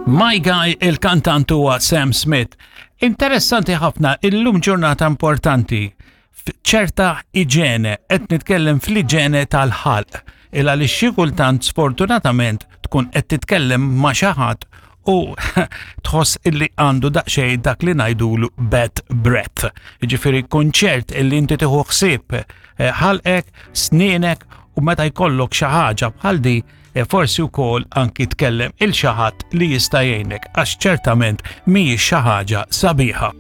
My Guy il-kantant huwa Sam Smith. Interessanti ħafna illum ġurnata importanti ċerta iġene, qed nitkellem fl-iġene tal-ħalq, il għaliex xi kultant sfortunatament tkun qed titkellem ma' xi ħadd u tħoss illi għandu daqsxejn dak li ngħidulu bad breath. Jiġifieri kunċert illi inti tieħu ħsieb eh, ħalqek, snienek u meta jkollok xi ħaġa bħal di eh, forsi wkoll anki tkellem il xi ħadd li jista' jgħinek għax ċertament mhijiex xi ħaġa sabiħa.